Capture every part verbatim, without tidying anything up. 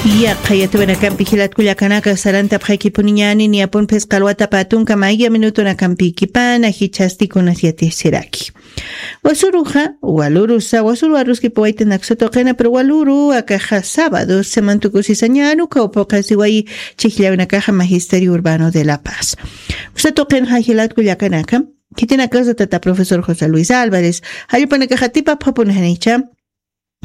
Yaqha yatawanakampi jilatkullakanaka sarantapxakipuniñani niyapun phisqa alwatapa tunka mayya minutunakampikipana jichhasti kunas yatisiraki. Wasuruxa walurusa wasuru aruskipa waytanaksa tuqina pero waluru akaxa sábado semantukusisañanu kawpuqasiwayi chijllawinakaxa magisterio urbano de la paz. Usa tuqinxa jilatkullakanaka khitinakasa tata profesor josé luis álvarez, jallupanakaxa tipapxapunxanicha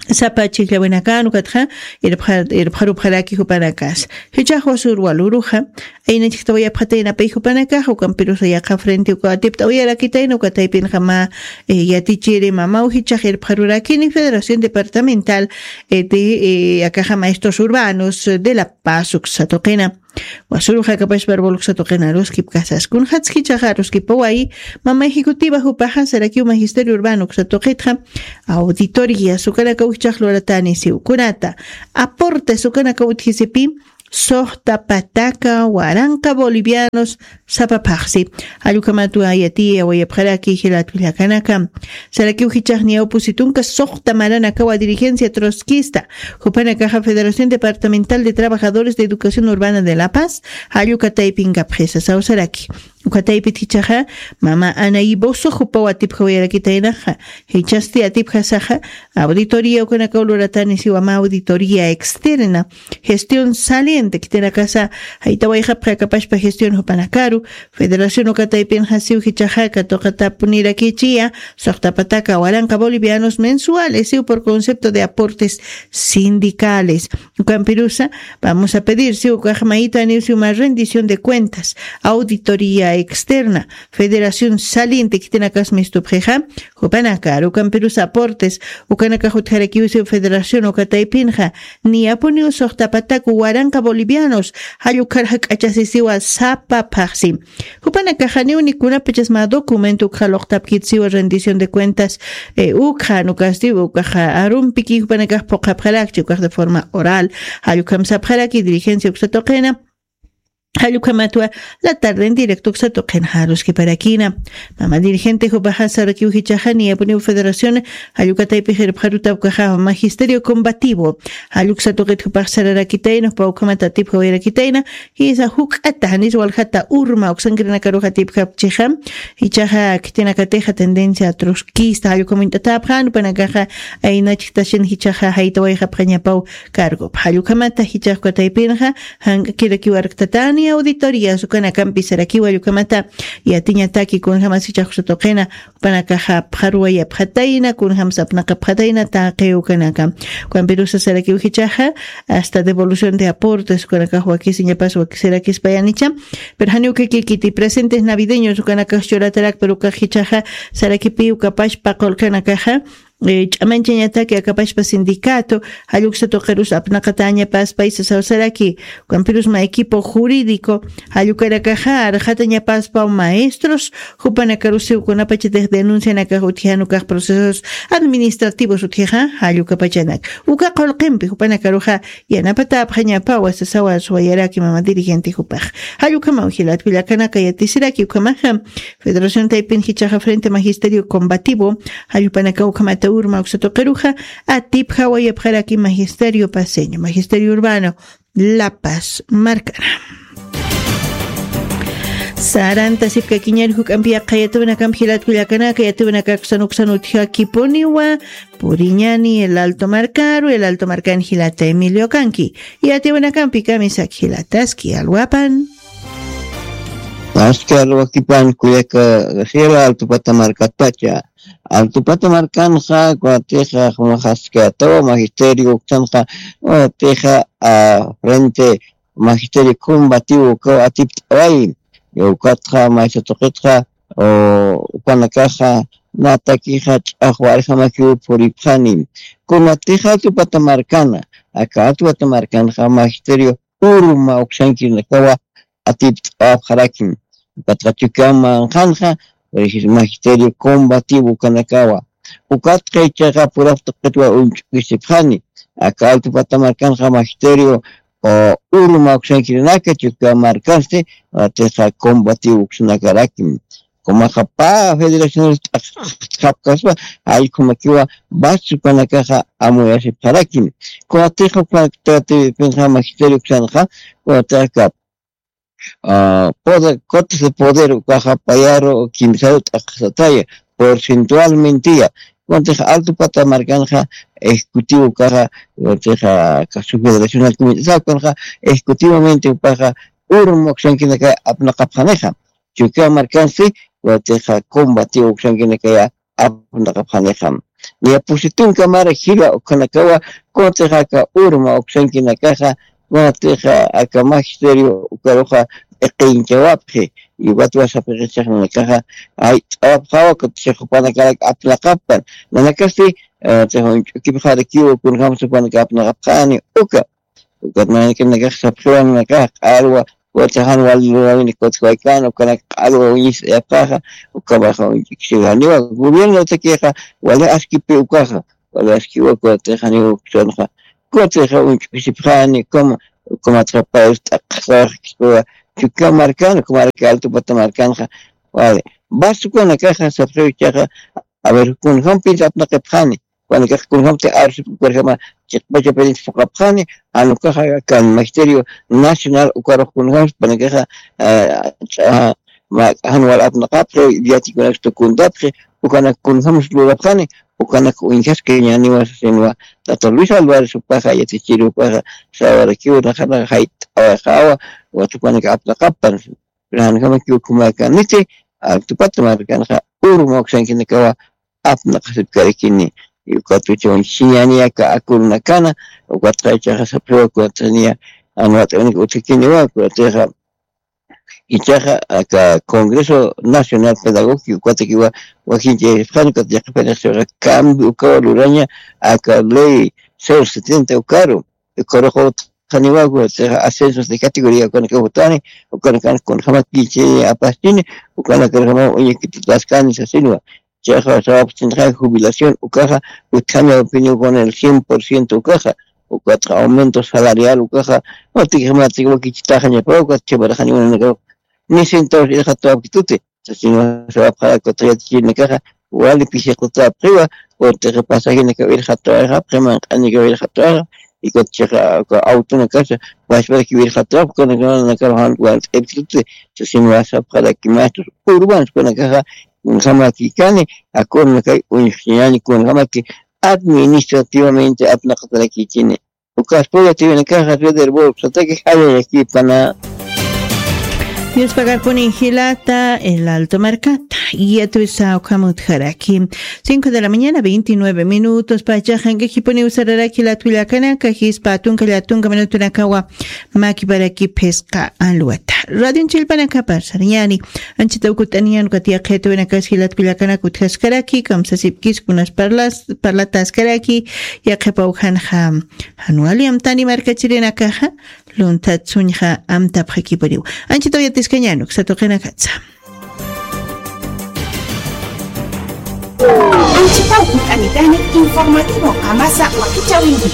sapa chijllawinakan ukatxa irpxarupxaraki jupanakas. Jichhax wasur waluruxa ayna chijtawayapxatayna pay jupanakaxa ukampirusa yaqha frente uka atipt'awayarakitayna uka taypinxa mä yatichiri mamaw jichhax irpxarurakini federación departamental de akaxa maestros urbanos de la paz uksa tuqina. Wasuru jakapashpar boluksa tuqinaruskipkasas kunxatskichaxaruskipawayi. Mama ejecutiva jupaxa sarakiw magisterio urbano uksa tuqitxa auditorías ukanakaw jichhax luratani siwkunata aportes ukanakaw utjisipi suxta pataka waranqa bolivianos sapaphaxsi. Jallukhamatwa yatiyawayapxaraki jilatkullakanaka. Sarakiw jichhaxniyaw pusitunka suxta maranakawa dirigencia trotskista jupanakaxa federación departamental de trabajadores de educación urbana de la paz jallukataypinkapxisa sawsaraki. Ukataypit jichhaxa mama anayiboso jupaw atipjawayarakitaynaxa. Jichhasti atipjasaxa auditoría ukanakaw luratani siwama auditoría externa gestión saliente khitinakasa jaytawayxapxakapashpa gestión jupanakaru federación ukataypinxa siw jichhaxa katuqatapunirakïchiya suxtapataka waranqa bolivianos mensuales siw por concepto de aportes sindicales. Ukampirusa vamos a pedir siw ukaxmayitaniw siw mä rendición de cuentas auditoría externa federación saliente khitinakas mistupxixa jupanakar ukampirusa aportes ukanakax utjarakiw siw federación ukataypinxa niyapuniw suxtapataku waranqa bolivianos jallukharxa k'achasisiwa sapaphaxsi. Jupanakaxaniw nikunapachas mä documento ukxa luqtapkitsiwa rendición de cuentas ukxa nukasti ukaxa arumpiki jupanakax phuqhapxarakchi ukax de forma oral. Jallukhamsapxaraki dirigencia uksa tuqina jallukhamatwa la tarde en directo uksa tuqinxaruskiparakina. Mama dirigente jupaxa sarakiw jichhaxa niyapuniw federación jallukataypix irpxaruta ukaxa magisterio combativo jalluksa tuqit jupax sararakitayna jupa ukhamat atipjawayarakitayna. Jisa juk'ata janis waljata urma uksankirinakaruxa atipjapchixa. Jichhaxa khitinakatixa tendencia trotskista jallukhamuñt'atäpxan jupanakaxa ayna chijtasin jichhaxa jaytawayxapxañapaw cargop jallukhamata jichhax ukataypinxa jank'akirakiw arktatani auditorías ukanakampi sarakiw jallukhamata yatiñataki kunjämas jichhax uksa tuqina jupanakaxa apxaruwayapxatayna kunjämas apnaqapxatayna taqi ukanaka. Ukampirusa sarakiw jichhaxa hasta devolución de aportes ukanakax wakisiñapas wakisirakispayanicha. Pero janiw kikikiti presentes navideños ukanakax churatarak pero ukax jichhaxa sarakipiw kapashpa qulqanakaxa ch'amanchañataki akapashpa sindicato jalluksa tuqirus apnaqatañapas paysa sawsaraki. Ukampirus mä equipo jurídico jallukarakaxa arxatañapaspaw maestros jupanakarusiw kunapachatix denuncianakax utjijan ukax procesos administrativos utjixa jallukapachanak uka qulqimpi jupanakaruxa yanapatäpxañapawa sasawa suwayaraki mama dirigente jupax. Jallukhamaw jilatkullakanaka yatisiraki ukhamaxa federación taypin jichhaxa frente magisterio combativo jallupanaka ukhamata urma uksa tuqiruxa atipjawayapxaraki magisterio paseño magisterio urbano la paz markana. Saranta sipkakiñari juk'ampi yaqha yatiwinakampi jilatkullakanaka yatiwinakaksan uksan utjakipuniwa puriñani el alto markaru el alto markan jilata emilio kanki. Yatiwinakampi kamisaki jilataski alwapan. Aski alwakipan kuyaka jila altupata markatpacha. Altupata markanxa kuatixa jumaxaski atawa magisterio uktanxa kuatixa frente magisterio combativo ukaw atipt'away. Ukatxa maysa tuqitxa ukanakaxa natakixa ch'axwarjamakiw puripxani. Kunatixa altupata markana aka altupata markanxa magisterio urma uksankirinakawa atipt'apxarakim. Ukatxa chukiwan manqanxa magisterio combativo ukanakawa. Ukatxa ichaqa puraq tuqitwa uñch'ukisipxani aka altupata markanxa magisterio urma uksankirinaka chukiwan markansti watixa combativo uksanakarakim. Kumaxa pä federacional t'aqxapkaspa, jallkhumakiwa basukanakaxa amuyasipxarakini. Kunatixa ukanak tatiwipinxa magisterio uksanxa, kunatixa aka, ah, poder, cuotas de poder ukaxa payaru kimsaru t'aqxsataya, porcentualmente ya. Kunatixa Alto Pata markanxa ejecutivo ukaxa, kunatixa aka su federacional comité ukanxa ejecutivamente ukaxa urma uksankinakay apnaqapxanixa. Chukiyaw markansti, kunatixa combativo uksankinakaya apnaqapxanixa. Niya pusi tunka mara jila ukhanakawa, kunatixa aka urma uksankinakaxa, kunatixa aka magisterio ukaruxa iqinchawapxi, y watwa sapxiqichax nanakaxa, ay, t'awapxawa, kunatixa jupanakarak apnaqapan. Nanakasti, eh, tixa uñch'ukipxarakiwa, kunjam jupanaka apnaqapxani, uka. Ukat nanaka, nanakax sapxiwa, nanakax q'alwa, ukat jan wali lurawini kutjwaykan, ukanak q'alwa uñisipxaxa, ukamaxa uñch'ukisipxaniwa. Gobierno takixa, wali askipi ukaxa, wali askiwa, ukat janiwa uksanxa, ukat uñch'ukisipxani, ukama, ukamatxa payus t'aqxawaxkispawa, Chukiyaw markan, ukamaraki Alto Pata markanxa, wali. Bas ukanakaxa sapxiw ichaxa, a ver, kunjam pinsa apnaqipxani, Jupanakax kunjamti arsip ukarjama chiqpachapirinti phuqapxani, jan ukaxa kan Magisterio Nacional ukarux kunjamsi jupanakaxa, eh, ch'a-, ma-, jan wal apnaqapxi, yatikunakas tukuntapxi, ukanak kunjamsi lurapxani, ukanak uñjaskañäniwa sasinwa, tata Luis Álvarez jupaxa, yatichiri jupaxa, sawarakiw naxanaxa jayt'awayxawa, watupanak apnaqapan, Janjamakiw ukhamakaniti, Alto Pata markanxa urma uksankinakawa apnaqasipkarakini. Ukat uñch'usiñäni aka akunakana, ukatxa ichaxa sapxiwa, ukatxa niya jan wat'awinak utjkiniwa, ukatixa ichaxa aka Congreso Nacional Pedagógico, ukatakiwa wakinchayasipxani, ukat yaqhipanix siwaxa cambio ukawa luraña aka ley cero setenta ukaru, ukarux utjaniwa, ascensos de categoría ukanakaw jutani, ukanakan kunjamat kichini apastini, ukanakarjama uñakitutaskani sasinwa. Chayxa sawapxtinxa jubilación ukaxa utjañawapiniw con el cien por ciento ukaxa, ukatxa aumento salarial ukaxa, utikjamatik wakichitaxañapa, ukat chhamarxaniwa nanakaw ni centavos irxatawapkituti. Sasinwa sawapxarak, ukat yatichirinakaxa wali pisiqutapxiwa, ukat pasajenakaw irxatawayxa, qhimanq'anikaw irxatawayxa, y ukat chiqa, uka autonakasa wachparakiw irxatawayxa, ukanakar jan wal t'ipkituti. Sasinwa sapxaraki maestros urbanos ukanakaxa, kunjamakikani, akunakay uñjsiñäni, kunjamaki administrativamente apnaqatarakïchini. Ukaspa yatiwinakaxa Federbol, sataki jallallakipana. Dios pagarpuni jilata, el Alto markata. Yatwisa ukhamutjaraki. Cinco de la mañana, veintinueve minutos. Pachaxa jank'akipuniw sararaki jilat kullakanaka, jispa tunka llatunka minutunakawa makiparaki phisqa alwata. Radio Chilpanakapar sarañäni. Anchitaw kut'aniñäni, ukat yaqhitawinakas jilat kullakanaka utjaskaraki, kamsasipkis kunas parlas-, parlataskaraki, yaqhipaw janxa. Jan wali amtani markachirinakaxa, lunthat suñxa amtapxakipuniw. Anchitaw yatiskañäni uksa tuqinakatsa. Anchitaw kut'anitani informativo qamasa wakichäwinki.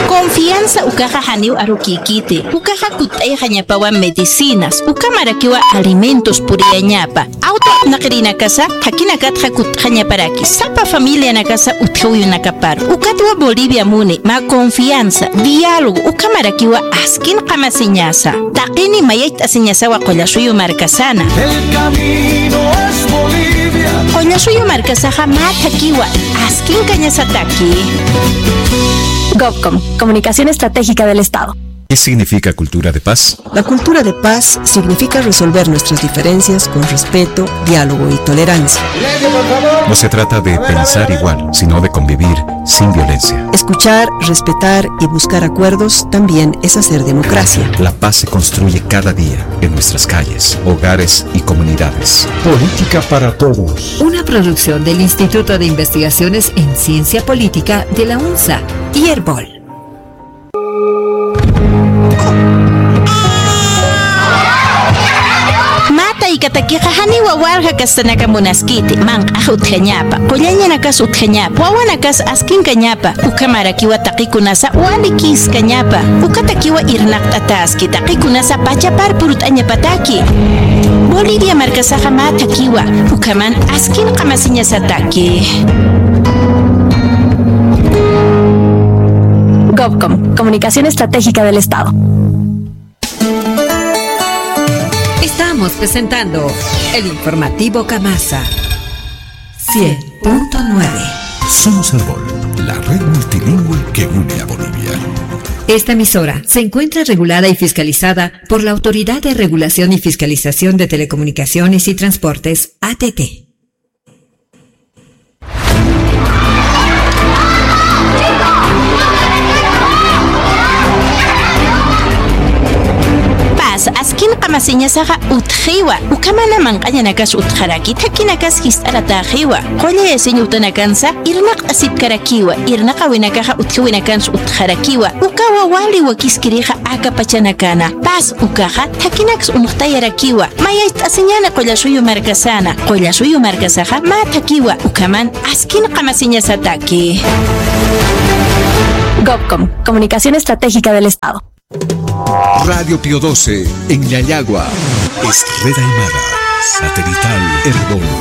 Confianza ukaxa janiw arukïkiti, ukaxa kutt'ayxañapawa medicinas, ukamarakiwa alimentos puriyañapa, auto apnaqirinakasa, jakinakatxa kutt'xañaparaki, sapa familianakasa utjawiyunakaparu, ukatwa Bolivia muni, mä confianza, diálogo, ukamarakiwa askin qamasiñasa. Taqini mayayt'asiñasawa Qullasuyu markasana. El camino es Bolivia. Qullasuyu markasaxa mä thakiwa, askin kañasataki. Gobcom, Comunicación Estratégica del Estado. ¿Qué significa cultura de paz? La cultura de paz significa resolver nuestras diferencias con respeto, diálogo y tolerancia. No se trata de pensar igual, sino de convivir sin violencia. Escuchar, respetar y buscar acuerdos también es hacer democracia. La paz se construye cada día en nuestras calles, hogares y comunidades. Política para todos. Una producción del Instituto de Investigaciones en Ciencia Política de la UNSA y Erbol. Mä Katakixa janiwa walja kastanaka munaskiti, manq'ax utjañapa, qullañanakas utjañapa, wawanakas askinkañapa, ukhamarakiwa taqikunasa wali kiskañapa, ukatakiwa irnaqt'ataski, taqikunasa pachapar purut'añapataki. Bolivia markasaxa mä thakiwa, ukhaman askin qamasiñasataki. Gobcom, Comunicación Estratégica del Estado. Estamos presentando el informativo Kamasa cien punto nueve. Somos Erbol, la red multilingüe que une a Bolivia. Esta emisora se encuentra regulada y fiscalizada por la Autoridad de Regulación y Fiscalización de Telecomunicaciones y Transportes, A T T. Paz, askin qamasiñasaxa utjiwa, ukhamana manq'añanakas utjaraki, thakinakas jist'aratäxiwa, qullayasiñ utanakansa irnaqt'asipkarakiwa, irnaqawinakaxa utjiwinakansa utjarakiwa, ukawa wali wakiskirixa aka pachanakana. Paz ukaxa thakinaks uñjtayarakiwa, mayacht'asiñäni Qullasuyu markasana, Qullasuyu markasaxa mä thakiwa, ukhaman askin qamasiñasataki. Gobcom, Comunicación Estratégica del Estado. Radio Pío doce en Llallagua. Es red aymara, satelital, Erbol.